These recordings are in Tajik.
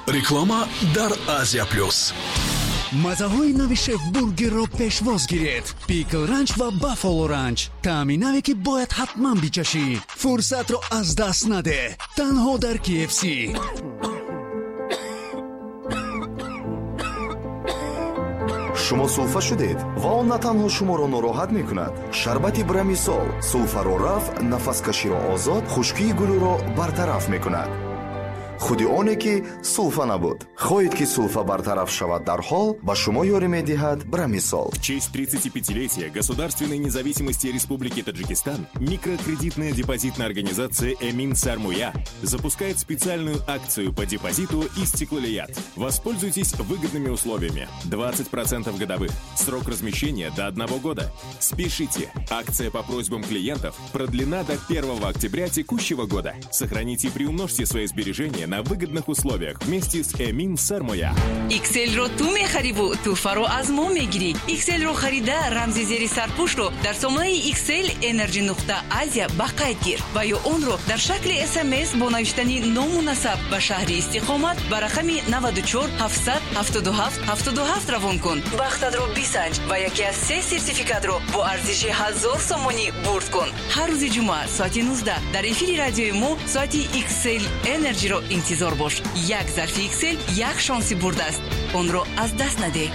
Реклама дар Азия Плюс. Маззаҳои нави Шеф Бургерро пешвоз гиред: Пикл Ранч ва Баффало Ранч. Таъми наве, ки бояд ҳатман бичашӣ. Фурсатро аз даст надеҳ, танҳо дар KFC. Шумо сулфа шудед ва он на танҳо шуморо нороҳат мекунад. Шарбати Брамисол сулфаро рафъ, нафаскаширо озод, хушкии гулӯро бартараф мекунад. Худи оне ки сулфа набуд. Хоҳед, ки сулфа бартараф шавад дарҳол, ба шумо ёрӣ медиҳад Брамисол. В честь 35-летия государственной независимости Республики Таджикистан микрокредитная депозитная организация «Эмин Сармоя» запускает специальную акцию по депозиту «Истиклолият». Воспользуйтесь выгодными условиями. 20% годовых. Срок размещения до 1 года. Спешите! Акция по просьбам клиентов продлена до 1 октября текущего года. Сохраните и приумножьте свои сбережения на выгодных условиях вместе с «Эмин Сармоя». XL-ро ту мехариву тӯҳфаро аз мо мегирӣ. XL-ро харида, рамзи зери сарпӯшро дар сомонаи XL Energy нуқта Азия ба қайд гир ва ё онро дар шакли СМС бо навиштани ному насаб ба шаҳри истиқомат ба рақами 94 777 77 равон кун. Бахтатро бисанҷ ва яке аз се сертификатро бо арзиши 1000 сомонӣ бурд кун. Ҳар рӯзи ҷумъа соати 19 дар эфири радиои мо соати XL Energy-ро интизор бош. Як зарфи XL як шонси бурд аст. Онро аз даст надеҳ.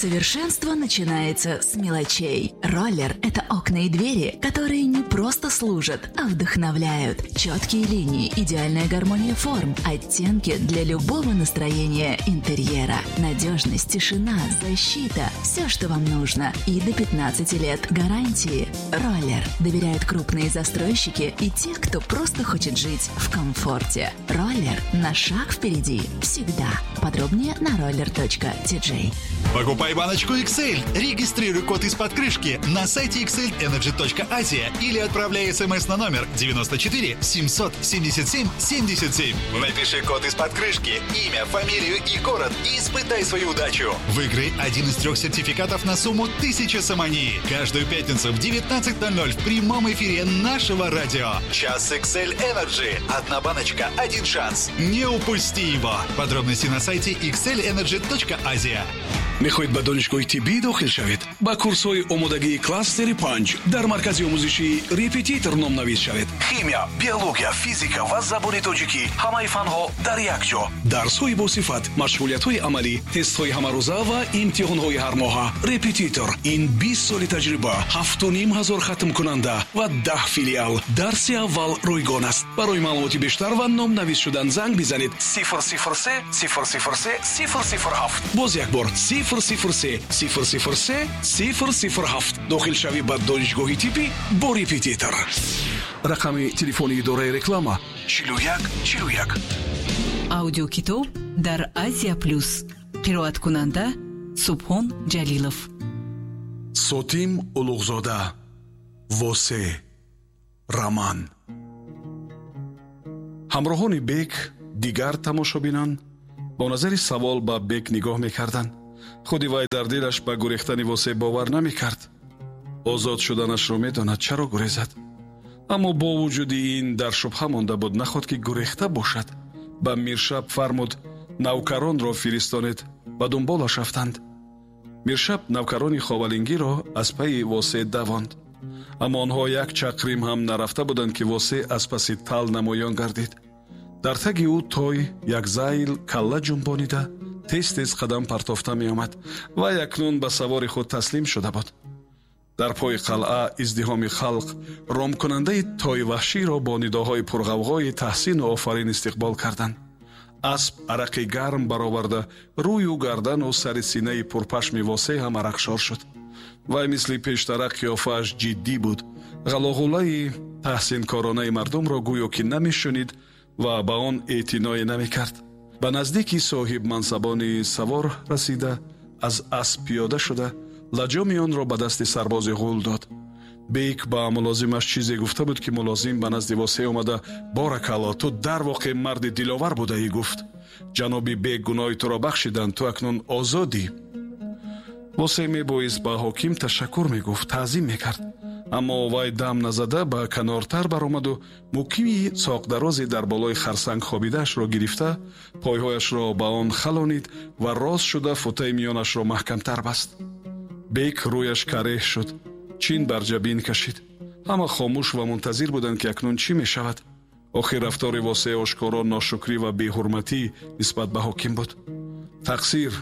Совершенство начинается с мелочей. Роллер – это окна и двери, которые не просто служат, а вдохновляют. Четкие линии, идеальная гармония форм, оттенки для любого настроения интерьера. Надежность, тишина, защита – все, что вам нужно. И до 15 лет гарантии. Роллер доверяют крупные застройщики и те, кто просто хочет жить в комфорте. Роллер на шаг впереди всегда. Подробнее на roller.tj. Покупай баночку XL, регистрируй код из-под крышки на сайте xlenergy.asia или отправляй смс на номер 94 777 77. Напиши код из-под крышки, имя, фамилию и город и испытай свою удачу. Выиграй один из 3 сертификатов на сумму 1000 сомони. Каждую пятницу в 19:00 в прямом эфире нашего радио. Час XL Energy. Одна баночка, один шанс. Не упусти его. Подробности на сайте xlenergy.asia. Мехоҳед ба донишгоҳи тиббӣ дохил шавед? Ба курсҳои омодагии кластери 5 дар маркази омӯзишии Репетитор номнавис шавед. Химия, биология, физика ва забони тоҷикӣ, ҳамаи фанҳо дар як ҷо. Дарсҳои босифат, машғулиятҳои амалӣ, тестҳои ҳамарӯза ва имтиҳонҳои ҳармоҳа. Репетитор — ин 20 соли таҷриба, 7500 хатмкунанда ва 10 филиал. Дарси аввал ройгон аст. Барои маълумоти бештар ва номнавис шудан занг бизанед: 003 003 007. Боз як бор: 003 003 007. Дохилшавӣ ба донишгоҳи тиббӣ бо Репетитор. Рақами телефони идораи реклама: 41 41. Аудиокитоб дар Азия Плюс. Қироаткунанда Субҳон Ҷалилов. Сотим Улуғзода, «Восе», роман. Ҳамроҳони Бек, дигар тамошобинан бо назари савол ба Бек нигоҳ мекарданд. Худи вай дар дилаш ба гурехтани Восе бовар намекард. Озод шуданашро медонад, чаро гурезад? Аммо бо вуҷуди ин дар шубҳа монда буд, наход ки гурехта бошад. Ба Миршаб фармуд: «Навкаронро фиристонед». Ба дунболаш рафтанд. Миршаб навкарони ховалингиро аз пайи Восе давонд. Аммо онҳо як чақрим ҳам нарафта буданд, ки Восе аз паси тал намоён гардид. Дар таги ӯ той як зайл калла ҷунбонида, тез тез қадам партофта меомад ва акнун ба савори худ таслим шуда буд. Дар пои қалъа издиҳоми халқ ромкунандаи тои ваҳширо бо нидоҳои пурғавғои таҳсину офарин истиқбол карданд. Асп арақи гарм бароварда, рӯю гардану сари синаи пурпашми Восе ҳам арақшор шуд. Вай мисли пештара қиёфааш ҷиддӣ буд. Ғалоғулаи таҳсинкоронаи мардумро гӯё ки намешунид ва ба он эътиное намекард. Ба наздики соҳибмансабони савор расида, аз асп пиёда шуда, лаҷоми онро ба дасти сарбози ғул дод. Бек ба мулозимаш чизе гуфта буд, ки мулозим ба назди Восе омада: «Боракалло, ту дар воқеъ марди диловар будаӣ», — гуфт. «Ҷаноби Бек гуноҳи туро бахшиданд, ту акнун озодӣ». Восе мебоист ба ҳоким ташаккур мегуфт, таъзим мекард, Аммо вай дам назада ба канортар баромаду мукими соқдарозе дар болои харсанг хобидаашро гирифта, пойҳояшро ба он халонид ва рост шуда футаи миёнашро маҳкамтар баст. Бек рӯяш кареҳ шуд, чин бар ҷабин кашид. Ҳама хомӯш ва мунтазир буданд, ки акнун чӣ мешавад. Охир рафтори Восеъ ошкоро ношукрӣ ва беҳурматӣ нисбат ба ҳоким буд. Тақсир,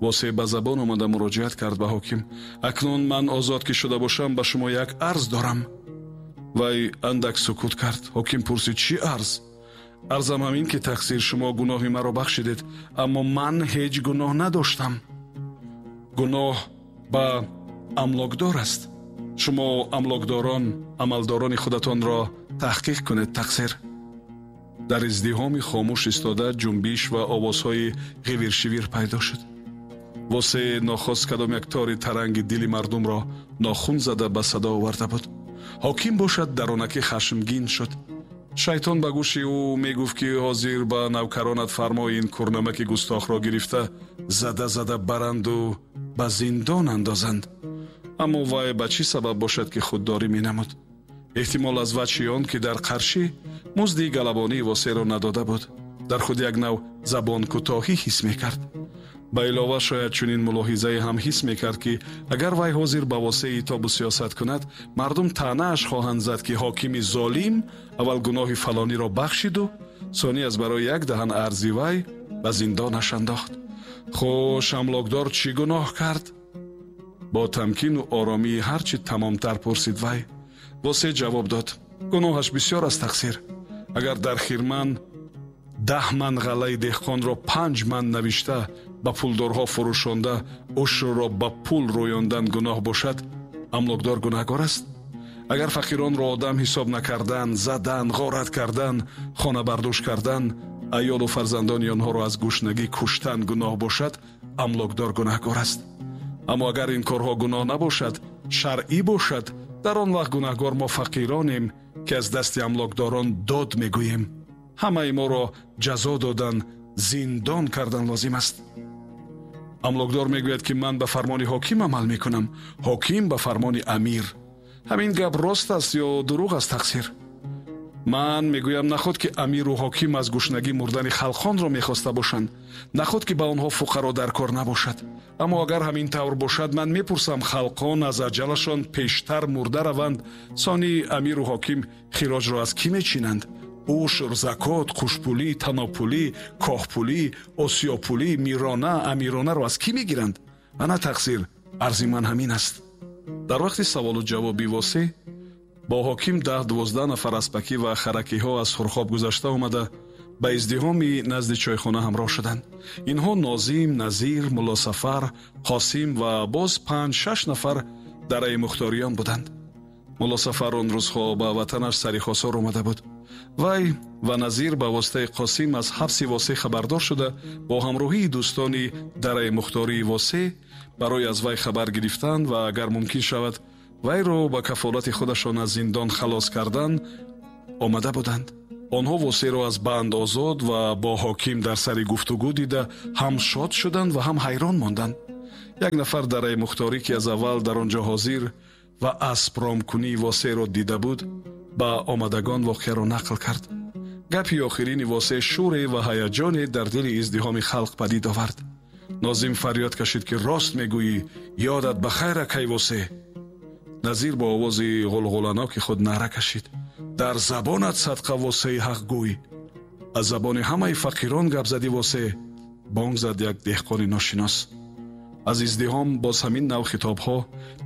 Восеъ ба забон омада муроҷиат кард ба ҳоким: акнун ман озод ки шуда бошам, ба шумо як арз дорам. Вай андак сукут кард. Ҳоким пурсид: чӣ арз? Арзам ҳамин ки, тақсир, шумо гуноҳи маро бахшидед, аммо ман ҳеҷ гуноҳ надоштам. Гуноҳ ба амлокдор аст. Шумо амлокдорон амалдорони худатонро таҳқиқ кунед, тақсир. Дар издиҳоми хомӯш истода ҷунбиш ва овозҳои ғивиршивир пайдо шуд. Восеъ нохост кадом як тори таранги дили мардумро нохун зада ба садо оварда буд. Ҳоким бошад даронакӣ хашмгин шуд. Шайтон ба гӯши ӯ мегуфт, ки ҳозир ба навкаронат фармои ин курнамаки густохро гирифта зада зада баранду ба зиндон андозанд. Аммо вай ба чӣ сабаб бошад, ки худдорӣ менамуд? Эҳтимол аз вачҳи он, ки дар қаршӣ музди галабонии Восеъро надода буд, дар худ як нав забонкӯтоҳӣ ҳис мекард. Ба илова шояд чунин мулоҳизае ҳам ҳис мекард, ки агар вай ҳозир ба Восеъ итобу сиёсат кунад, мардум таънааш хоҳанд зад, ки ҳокими золим аввал гуноҳи фалониро бахшиду сонӣ аз барои як даҳан арзи вай ба зиндонаш андохт. Хуш, амлокдор чӣ гуноҳ кард? Бо тамкину оромии ҳарчи тамомтар пурсид вай. Восеъ ҷавоб дод: гуноҳаш бисёр аст, тақсир. Агар дар хирман 10 ман ғаллаи деҳқонро 5 ман навишта ба пулдорҳо фурӯшонда ушрро ба пул рӯёндан гуноҳ бошад, амлокдор гунаҳгор аст. Агар фақиронро одам ҳисоб накардан, задан, ғорат кардан, хонабардӯш кардан, аёлу фарзандони онҳоро аз гушнагӣ куштан гуноҳ бошад, амлокдор гунаҳгор аст. Аммо агар ин корҳо гуноҳ набошад, шаръӣ бошад, дар он вақт гунаҳгор мо фақиронем, ки аз дасти амлокдорон дод мегӯем. Ҳамаи моро ҷазо додан, зиндон кардан лозим аст. Амлокдор мегӯяд, ки ман ба фармони ҳоким амал мекунам, ҳоким ба фармони амир. Ҳамин гап рост аст ё дурӯғ аст, тақсир? Ман мегӯям, наход ки амиру ҳоким аз гушнагӣ мурдани халқонро мехоста бошанд, наход ки ба онҳо фуқаро дар кор набошад. Аммо агар ҳамин тавр бошад, ман мепурсам, халқон аз аҷалашон пештар мурда раванд, сони амиру ҳоким хироҷро аз кӣ мечинанд? Ушр, закот, қушпулӣ, танобпулӣ, коҳпулӣ, осиёпулӣ, мирона, амиронаро аз кӣ мегиранд? Ана тақсир, арзи ман ҳамин аст. Дар вақти саволу ҷавоби Восеъ бо ҳоким 10-12 нафар аспакӣ ва харакиҳо аз Хурхоб гузашта омада ба издиҳоми назди чойхона ҳамроҳ шуданд. Инҳо Нозим, Назир, Муллосафар, Қосим ва боз 5-6 нафар дараи мухториён буданд. Муллосафар он рӯзҳо ба ватанаш сари хосор омада буд. Вай ва Назир ба воситаи Қосим аз ҳабси Восеъ хабардор шуда, бо ҳамроҳии дӯстони дараи мухтории Восеъ барои аз вай хабар гирифтан ва агар мумкин шавад вайро ба кафолати худашон аз зиндон халос кардан омада буданд. Онҳо Восеъро аз банд озод ва бо ҳоким дар сари гуфтугӯ дида ҳам шод шуданд ва ҳам ҳайрон монданд. Як нафар дараи мухторӣ, ки аз аввал дар он ҷо ҳозир ва аспромкунии Восеъро дида буд, ба омадагон воқеаро нақл кард. Гапи охирини Восеъ шӯре ва ҳаяҷоне дар дили издиҳоми халқ падид овард. Нозим фарёд кашид, ки рост мегӯӣ, ёдат ба хайр, акай Восеъ. Назир бо овози ғулғуланоки худ наъра кашид: дар забонат садқа, Восеъи ҳақгӯй! Аз забони ҳамаи фақирон гап задӣ, Восеъ! Бонг зад як деҳқони ношинос. Аз издиҳом боз ҳамин нав хитобҳо,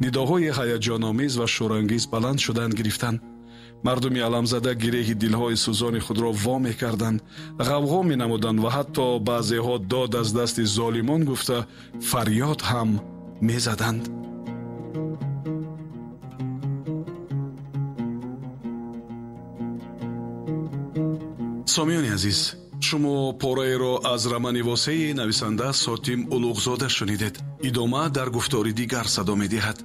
нидоҳои ҳаяҷономез ва шӯрангез баланд шудан гирифтанд. Мардуми аламзада гиреҳи дилҳои сӯзони худро во мекарданд, ғавғо менамуданд ва ҳатто баъзеҳо дод аз дасти золимон гуфта фарёд ҳам мезаданд. Сомиёни азиз, шумо пораеро аз романи Восеъи нависанда Сотим Улуғзода шунидед. Идома дар гуфтори дигар садо медиҳад.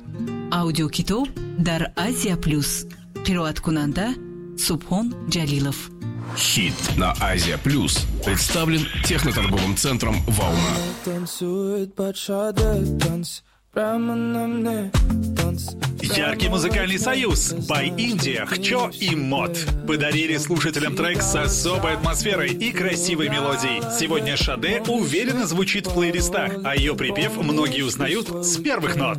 Аудиокитоб дар Азия Плюс. Қироаткунанда Субҳон Ҷалилов. Хит на Азия Плюс представлен техноторговым центром «Волна». Танцует бачата танц. Прямо на мне танцы. Яркий музыкальный союз By India, Хчо и Мот подарили слушателям трек с особой атмосферой и красивой мелодией. Сегодня Шаде уверенно звучит в плейлистах, а ее припев многие узнают с первых нот.